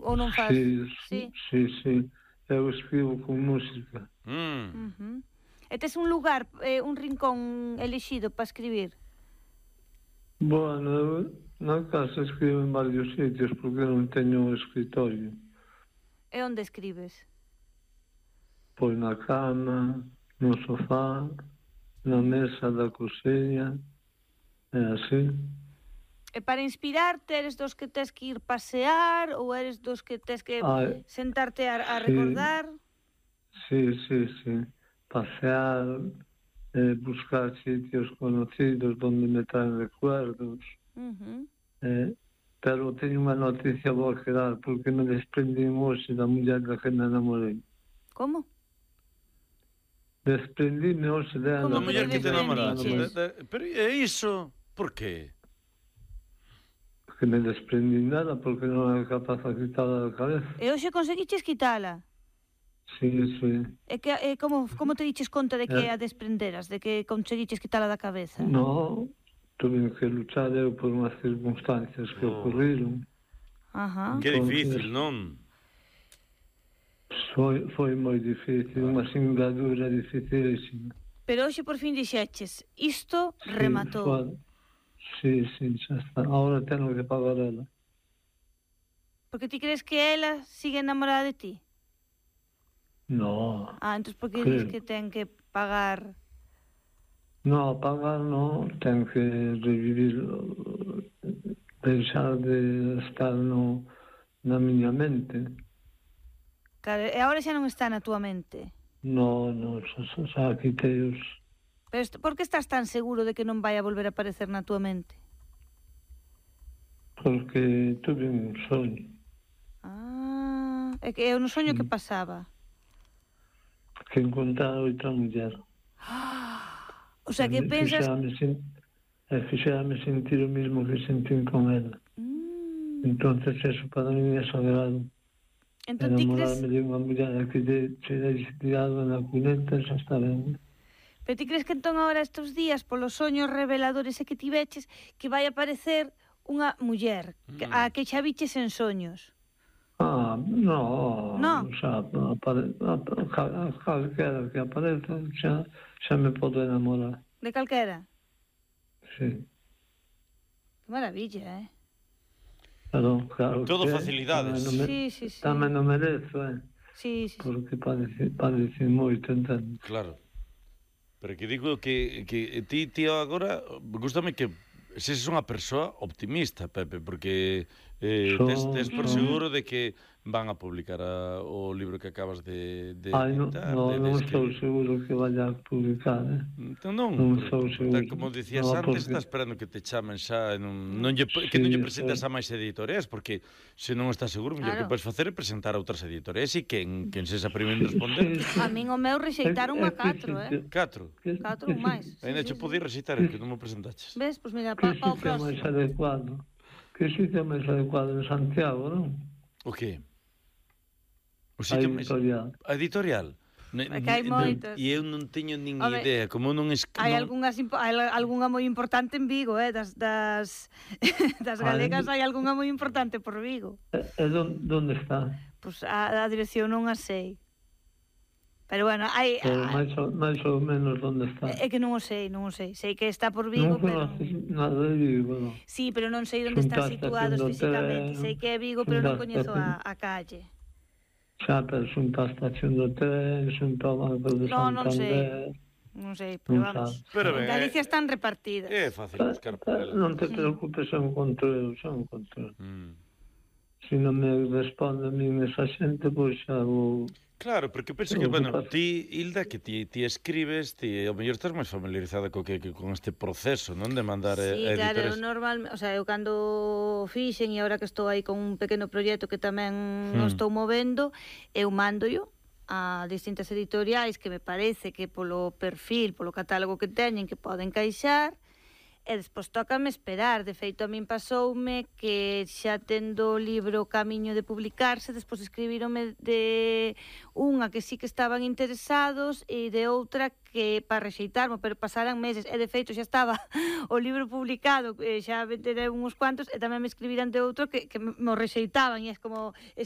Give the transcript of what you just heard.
ou non faz? Sí. Eu escribo con música. E tes un lugar, un rincón elixido para escribir? Bueno, na casa escribo en varios sitios porque non teño escritorio. E onde escribes? Pois na cama, no sofá, na mesa da cociña, e así. E para inspirarte, eres dos que tes que ir pasear ou eres dos que tes que sentarte a recordar? Sí. Pasear, buscar sitios conocidos donde me traen recuerdos. Pero teño unha noticia boa que dar porque me desprendín hoxe da muller da que me enamorei. Como? Desprendíme hoxe dela. Como a muller que te enamoraste? Pero é iso? Por qué? Porque me desprendín dela porque non era capaz de quitarla da cabeza. E hoxe conseguiches quitala? Sí. E como te diches conta de que a desprenderas, de que conseguiches quitala da cabeza? No, tuve que luchar eu por unhas circunstancias que ocurriron. Que difícil, non? Foi moi difícil, unha singladura dificilísima. Pero hoxe por fin dixeches, isto rematou. Sí, xa está. Ahora tengo que pagar ela. Porque ti crees que ela sigue enamorada de ti? No. Entón por que dices que ten que pagar? No, pagar no, ten que revivir, deixar de estar na miña mente. Claro, e agora xa non está na túa mente? No, xa quitei os... Pero por que estás tan seguro de que non vai a volver a aparecer na túa mente? Porque tuve un soño. É que eu no soño que pasaba? Que encontrar outra muller. O sea, que pensas... Fixérame sentir o mismo que sentín con ela. Entonces eso para mí é sagrado. Enamorarme de unha muller que se deixe tirado na cuneta xa está ben. Pero ti crees que entón agora estes días, polos soños reveladores que tiveches, que vai aparecer unha muller a que xa viches en soños? No. Xa, calquera que apareza xa me podo enamorar. De calquera? Sí. Que maravilla, Claro, todo facilidades. Sí. Tamén non merezo, Sí. Porque padece moito, entendo. Claro. Pero que digo que ti agora, gústame que seses unha persoa optimista, Pepe, porque tes por seguro de que van a publicar o libro que acabas de editar. Non estou seguro que vaya a publicar, Entón non estou seguro. Como dicías antes, está esperando que te chamen xa, que non lle presentas a máis editoreas, porque se non estás seguro, o que podes facer é presentar a outras editoreas e quen sexa primeiro en responder. A min o meu rexeitaron a 4, 4? 4 ou máis. Ainda che podía rexeitar, que non me presentaches. Ves? Pois mira, pa o próximo. Que sitio máis adecuado en Santiago, non? O que? A editorial. A editorial? Que hai moitas. E eu non teño nin idea, como non hai algunha moi importante en Vigo, das galegas hai algunha moi importante por Vigo. E onde está? Pois a dirección non a sei. Pero bueno, hai... máis ou menos onde está. É que non o sei. Sei que está por Vigo, pero... Non conoces nada de Vigo, non? Sí, pero non sei onde están situados físicamente. Sei que é Vigo, pero non coñezo a calle. Xa, pero xunto á estación do tren, xunto ao Banco de Santander... Non sei, pero vamos. En Galicia están repartidas. É fácil buscar por ela. Non te preocupes, xa encontro eu. Se non me responde a min esa xente, pois xa vou... Claro, porque penso que, bueno, ti, Hilda, que ti escribes, ti ao mellor estás máis familiarizada con este proceso, non? De mandar editores. Sí, claro, eu cando fixen e agora que estou aí con un pequeno proxecto que tamén estou movendo, eu mándoio a distintas editoriais que me parece que polo perfil, polo catálogo que teñen que poden encaixar, e despois tócame esperar. De feito, a min pasoume que xa tendo o libro camiño de publicarse, despois escribírome de unha que sí que estaban interesados e de outra que para rexeitarmo, pero pasaran meses, e de feito xa estaba o libro publicado, xa venderei uns cuantos, e tamén me escribiran de outro que me rexeitaban, e é como, eso